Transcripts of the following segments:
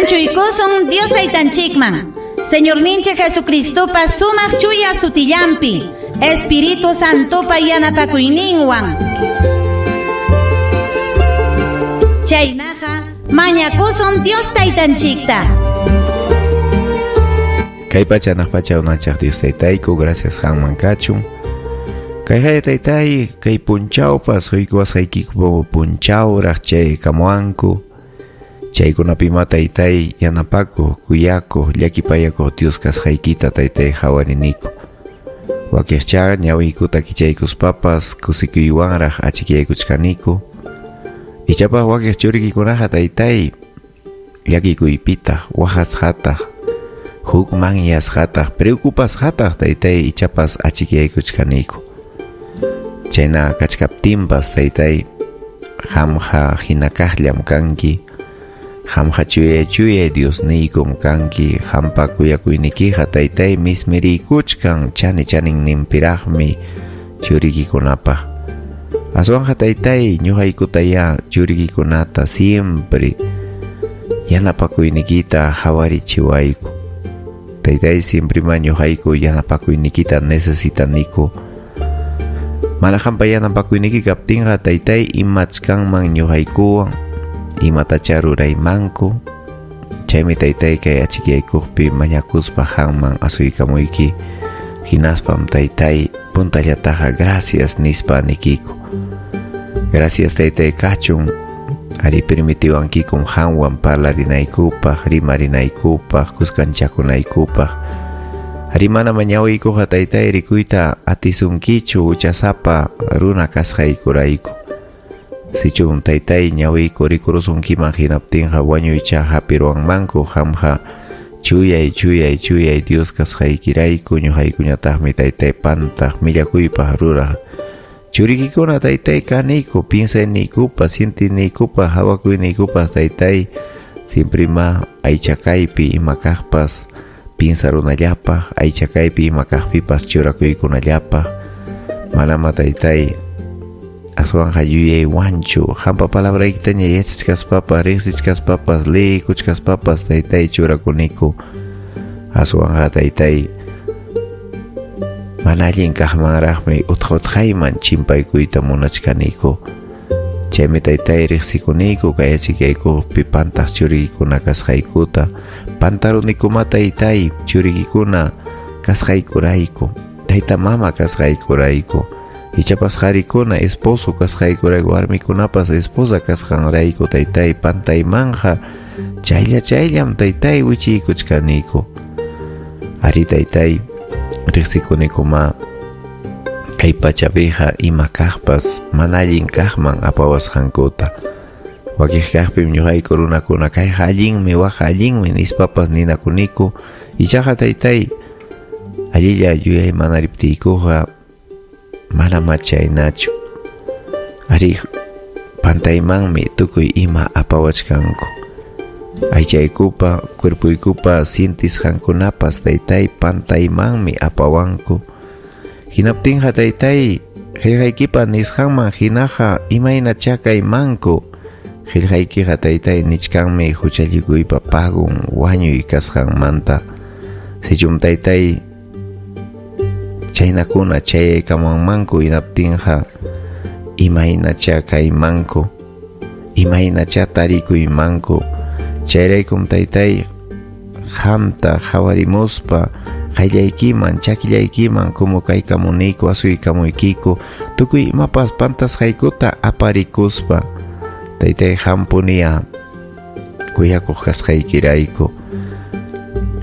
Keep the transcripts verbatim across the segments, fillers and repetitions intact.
Anchuykusun Dios taytanchikman. Señorninchik Jesucristopa sumaq chuya sutillampi, Espíritu Santopa yanapakuyninwan. Chaynaqa mañakusun Dios taytanchikta. Kay pacha hanaq pacha unanchaq Dios taytayku, gracias qanman kachun. Kay haya taytay, kay punchawpas huykuwasqaykiku punchawraq chay kamuanku. Chaykunapima taytay yanapakuq, kuyakuq, llakipayakuq Dios kasqaykita taytay hawariniku. Wakiqcha ñawiykuta kichaykuspapas kusikuywanraq achikyaykuchkaniku. Ichapas wakiq churikikunaqa taytay llakikuypitaq, waqasqataq, hukmanyasqataq, preocupasqataq taytay ichapas achikyaykuchkaniku. Chayna kachkaptinpas taytay qamqa hinakaqllam kanki. Qamqa chuyay chuyay Diosniykum kanki, qampa kuyakuynikiqa taytay mismiriykuchkan chani chaninninpiraqmi churikikunapaq. Aswanqa taytay ñuqaykutaya churikikunata siempre yanapakuynikita hawarichiwayku. Taytay siempre ma ñuqayku yanapakuynikita necesitaniku. Mana qampa yanapakuyniki kaptinqa taytay imachkanman ñuqaykuwan, imatacha ruraymanku. Chaymi taytay kay achikyaykuqpi mañakuspa qanman asuykamuyki. Hinaspam taytay puntallataqa gracias nispa nikiku. Gracias taytay kachun ari permitiwankikum qanwan parlarinaykupaq, rimarinaykupaq, kuskanchakunaykupaq. Ari mana mañawiykuqa taytay rikuyta atisunkichu huchasapa runa kasqaykurayku. Sichum taytay ñawiyku rikurusunkiman hinaptinqa wañuycha hapiruwanmanku. Qamqa chuyay chuyay chuyay Dios kasqaykirayku ñuqaykuñataqmi taytay pantaq millakuypaq ruraq churikikuna taytay kaniku, piensayniykupas, sientiniykupas, hawakuyniykupas taytay siempre ma aychakaypi ima kaqpas piensarunallapaq, aychakaypi ima kaqpipas churakuykunallapaq. Manama taytay aswanqa yuyaywanchu qampa palabraykitaña yachachkaspapas, riqsichkaspapas, liykuchkaspapas taytay churakuniku. Aswanqa taytay mana allin kaqmanraqmi utqa utqayman chimpaykuyta munachkaniku. Chaymi taytay riqsikuniku kay achikyaykuqpi pantaq churikikuna kasqaykuta. Pantarunikuma taytay churikikuna kasqaykurayku, tayta mama kasqaykurayku. Ichapas qarikuna esposo kasqaykurayku, warmikunapas esposa kasqanrayku taytay pantaymanja chaylla chayllam taytay wichiykuchkaniku. Ari taytay riqsikunikuma kay pachapiqa ima kaqpas mana allin kaqman apawasqankuta. Wakiq kaqpim ñuqayku runakuna kayqa allinmi, waqqa allinmi nispapas ninakuniku. Ichaqa taytay allilla yuyaymanariptiykuqa mana chaynachu. Ari pantaymanmi tukuy ima apawachkanku. Aychaykupa, cuerpuykupa sintisqankunapas taytay pantaymanmi apawanku. Hinaptinqa taytay qillqaykipa nisqanman hinaqa imaynacha kaymanku. Qillqaykiqa taytay nichkanmi huchallikuypa pagun wañuy kasqanmanta. Sichum taytay chaynakuna chayaykamanmanku hinaptinqa imaynacha kaymanku, imaynacha tarikuymanku. Chayraykum taytay qamta hawarimuspa qayllaykiman, chakillaykiman kumukaykamuniku, asuykamuykiku, tukuy imapas pantasqaykuta aparikuspa taytay qampuniya kuyakuq kasqaykirayku,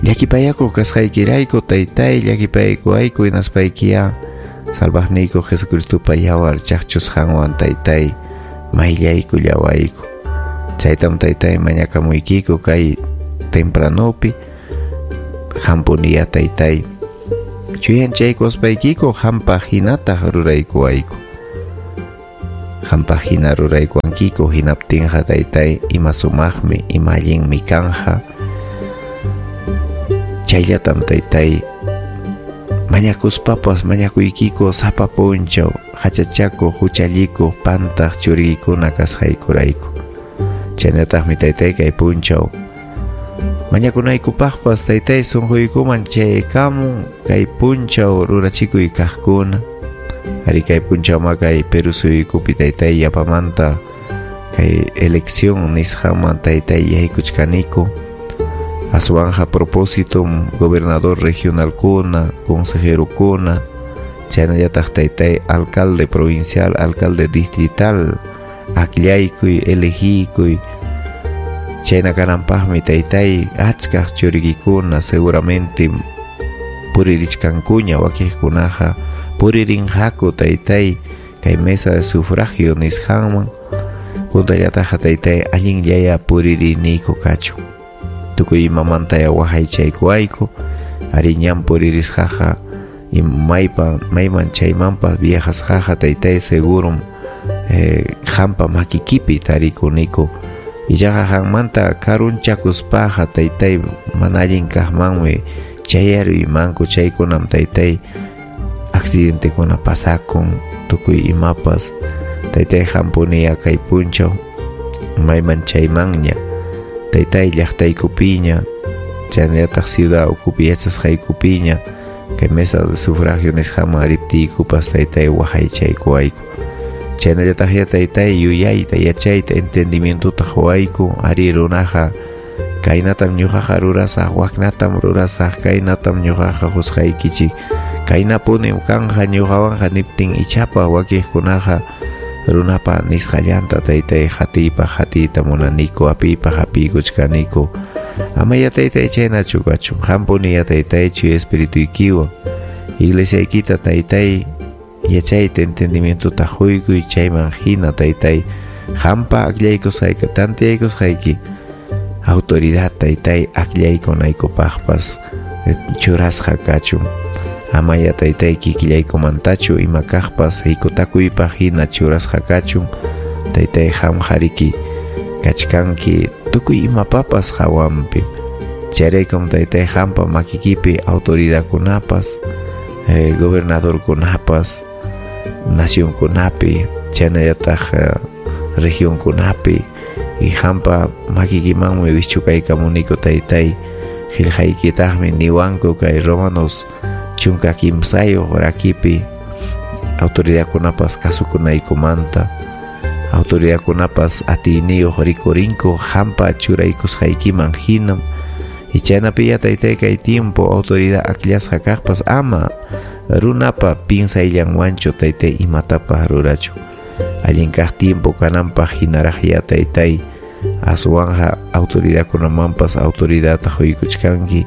llakipayakuq kasqaykirayku taytay llakipaykuwayku hinaspaykiya salvaqniyku Jesucristopa yawar chaqchusqanwan taytay mayllaykullawayku. Chaytam taytay mañakamuykiku kay tempranopi qampuniya taytay chuyanchaykuspaykiku qampaq hinataq ruraykuwayku. Qampaq hina ruraykuwankiku hinaptinqa taytay ima sumaqmi, ima allinmi kanja. Chayllatam taytay mañakuspapas mañakuykiku sapa punchaw hachachakuq, huchallikuq, pantaq churikikuna kasqaykurayku. Chaynataqmi taytay kay punchaw Mañakunaykupaqpas taytay sunquykuman chaykamun kay punchaw rurachikuy kaqkuna. Ari kay punchawma kay Perú suyukupi taytay yapamanta kay elección nisqanman taytay yaykuchkaniku. Aswanja propósito gobernador regionalkuna, consejerokuna, chaynallataq taytay alcalde provincial, alcalde distrital, akllaykuy, elegikuy. Chayna kananpaqmi taytay achkaq churikikuna seguramente puririchkankuña wakiqkunaqa puririnqaku taytay kay mesa de sufragio nisqanman. Puntallataqa taytay allinllaya puririniyku kachun. Tukuy imamantaya waqaychaykuwayku. Ari ñan puririsqaqa maypa mayman chaymanpas viajasqaqa taytay segurum eh, qampa makikipi tarikuniku. Ichaqa qanmanta karunchakuspaqa taytay mana allin kaqmanmi chayaruymanku. Chaykunam taytay accidentekuna pasakun tukuy imapas. Taytay qampuniya kay punchaw mayman chaymanña taytay llaqtaykupiña chaynallataq ciudad ukupi yachasqaykupiña kay mesa de sufragio nisqaman riptiykupas taytay waqaychaykuwayku. Chaynallataqya taytay yuyayta yachayta entendimientota quwayku. Ari runaqa kaynatam ñuqaqa rurasaq, waknatam rurasaq, kaynatam ñuqaqa qusqaykichik, kaynapunim kanja ñuqawanqa niptin ichapa wakiqkunaqa runapa nisqallanta taytay hatiypaq hatiyta munaniku, apiypaq apiykuchkaniku. Amaya taytay chaynachu kachun. Qampuniya taytay chuya espirituykiwan iglesiaykita taytay yachayta entendimientota quykuy chayman hina taytay qampa akllaykusqayki tantiyaykusqayki autoridad taytay akllaykunaykupaqpas churasqa kachun. Amaya taytay kikillaykumantachu ima kaqpas hikutakuypaq hina churasqa kachun. Taytay qam hariki kachkanki tukuy imapapas hawanpi. Chayraykum taytay qampa makikipi autoridadkunapas, eh, gobernadorkunapas, nacionkunapi, chaynallataq eh, regionkunapi y qampa makikimanmi wischukaykamuniku taytay. Qillqaykitaqmi niwanku kay Romanos chunka kimsayuq rakipi autoridadkunapas kasukunaykumanta, autoridadkunapas atiyniyuq rikurinku qampa churaykusqaykiman hinam. Y chaynapiya taytay kay tiempo autoridad akllasqa kaqpas ama runapa pinsayllanwanchu taytay imatapas rurachu. Allin kaq tiempo kananpaq hinaraqya taytay aswanja autoridadkunamanpas autoridadta quykuchkanki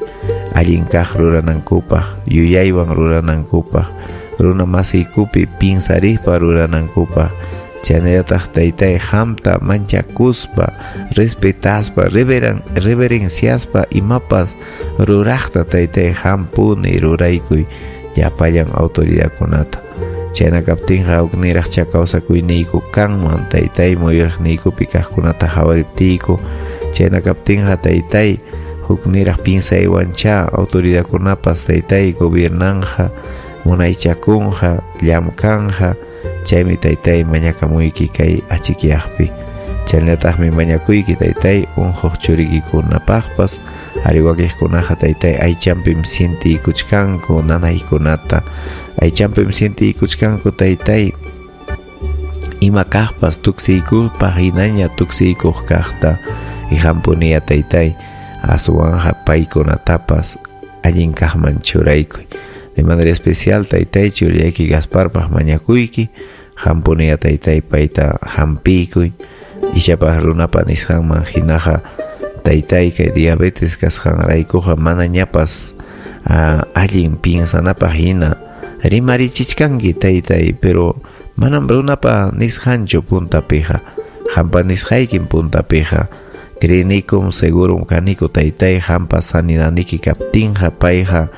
allin kaq ruranankupaq, yuyaywan ruranankupaq, runa masiykupi pinsarispa ruranankupaq. Chaynallataq taytay qamta manchakuspa, respetaspa, reveran, reverenciaspa imapas ruraqta taytay qampuni ruraykuy llapallan autoridadkunata. Chayna kaptinqa hukniraqcha kawsakuyniyku kanman taytay muyuriqniykupi kaqkunata hawariptiyku. Chayna kaptinqa taytay hukniraq pinsaywancha autoridadkunapas taytay gobiernanja, munaychakunqa, llamkanja. Chaymi taytay mañakamuyki kay achikyaqpi. Chaynallataqmi mañakuyki taytay unquq churikikunapaqpas. Ari wakiqkunaqa taytay aychampim sientiykuchkanku nanaykunata. Aychampim sientiykuchkanku taytay ima kaqpas tuksiykupaq hinaña tuksiykuq kaqta. Y qampuniya taytay aswanja paykunatapas allin kaqman churaykuy. De manera especial taytay churillayki Gasparpaq mañakuyki. Qampuniya taytay payta hampiykuy. Ichapas runapa nisqanman hinaqa taytay kay diabetes kasqanraykuqa manañapas uh, allin pinsanapaq hina rimarichichkanki taytay, pero manam runapa nisqanchu puntapiqa. Qampa nisqaykim puntapiqa. Crenikum segurum kaniku taytay qampa sanidaniki kaptinqa payqa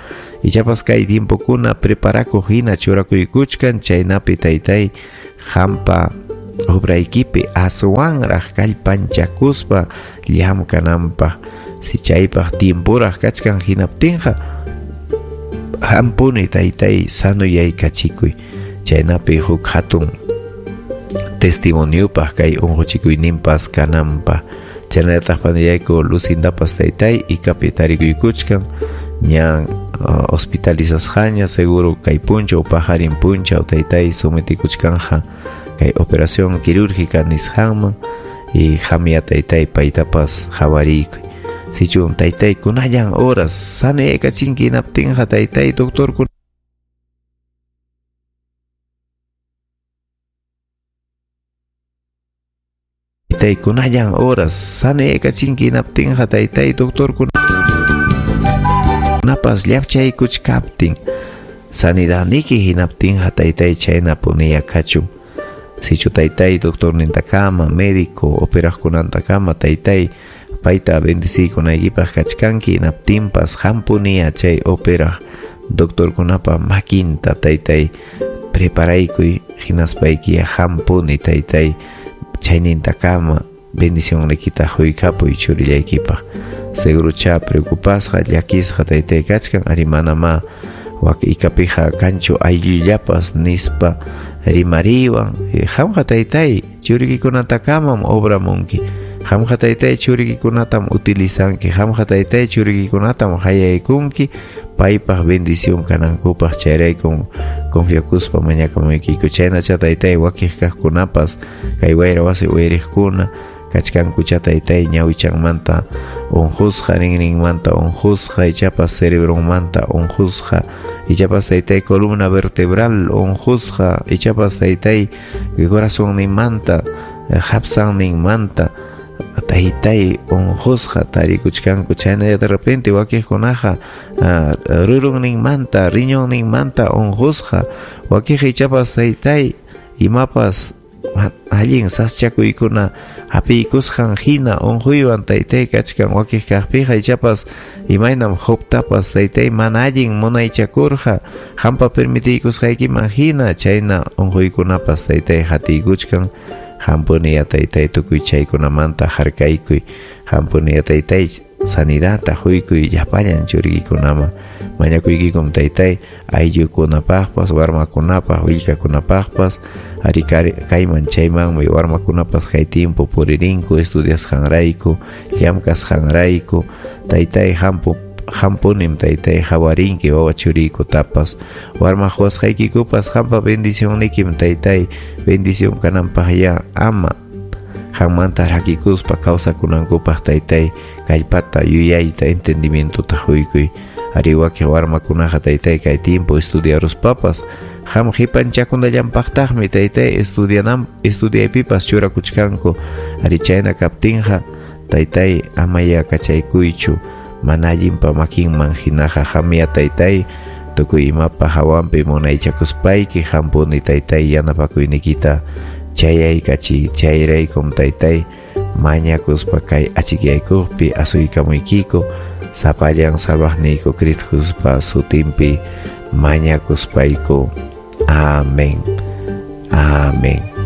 ichapas kay tiempokuna preparakuq hina churakuykuchkan chaynapi taytay qampa obraykipi aswanraq kallpanchakuspa llamkananpaq. Si chaypaq tiempuraq kachkan hinaptinqa hampuni taytay sanoyaykachikuy chaynapi huk hatun testimoniopaq kay unquchikuyninpas kananpaq. Chaynallataq panillayku Lucindapas taytay ikapi tarikuykuchkan ña uh, hospitalizasqaña seguro kay punchaw paqarin punchaw taytay sometikuchkanja kay operación quirúrgica nisqanman y qamya taytay paytapas qawariykuy. Sichun taytay kunallan horas sanaykachinki hinaptinqa taytay doctor taytay kunallan horas sanaykachinki hinaptinqa taytay doctor kunapas llapchaykuchkaptin sanidadniki hinaptinqa taytay chayna puniya kachun. Sichu taytay doctornintakama médico operaqkunantakama taytay payta bendeciykunaykipaq kachkanki hinaptinpas hampuniya chay operaq doctorkunapa makinta taytay preparaykuy hinaspaykiya hampuni taytay chaynintakama bendicionnikita huykapuy churillaykipaq. Segurocha preocupasqa llakisqa taytay kachkan ari manama wak ikapija kanchu ayllullapas nispa rimariwan. Qamqa taytay churiykikunatakamam obramunki, qamqa taytay churiyki-kunatam utilizanki, qamqa taytay churiyki-kunatam hayaykunki paypaq bendición kanankupaq. Chayraykun confiakuspa mañakamuykiku. Chaynacha taytay wakiq kaqkunapas kay wayra wasi uyariqkuna kachkankucha taytay ñawichanmanta unqusqa, rinrinmanta unqusqa, ichapas cerebronmanta unqusqa, ichapas taytay columna vertebral unqusqa, ichapas taytay corazonninmanta hapsanninmanta taytay unqusqa tarikuchkanku. Chayna de repente wakiqkunaqa rurunninmanta riñonninmanta unqusqa, wakiqa ichapas taytay imapas allin saschakuykuna hapiykusqan hina unquywan taytay kachkan. Wakiq kaqpiqa ichapas imaynam Jobtapas taytay mana allin munaychakurqa qampa permitiykusqaykiman hina chayna unquykunapas taytay hatiykuchkan. Hampuniya taytay tukuy chaykunamanta harkaykuy, hampuniya taytay sanidadta huykuy llapallan churiykunaman. Mañakuykikum taytay ayllukunapaqpas, warmakunapaq, willkakunapaqpas, ari kayman chaymanmi warmakunapas kay tiempo puririnku estudiasqanrayku, llamkasqanrayku. Taytay hampu hampunim taytay hawarinki wawa churiykutapas, warma quwasqaykikupas qampa bendicionnikim taytay bendición kananpaq ya ama qanmanta rakikuspa kawsakunankupaq taytay kallpata, yuyayta, entendimientota huykuy. Ari wakiq warmakunaqa taytay kay tiempo estudiaruspapas qam qipanchakunallanpaqtaqmi taytay estudianan estudiaypipas churakuchkanku. Ari chayna kaptinqa taytay amaya kachaykuychu mana allinpa makinman hinaqa. Qamya taytay tukuy imapa hawanpi munaychakuspayki hampuni taytay yanapakuynikita chayaykachiy. Chayraykum taytay mañakuspa kay achikyaykukpi asuykamuykiku sapallan salvaqniyku Cristo Jesuspa sutinpi mañakuspayku. Amén. Amén.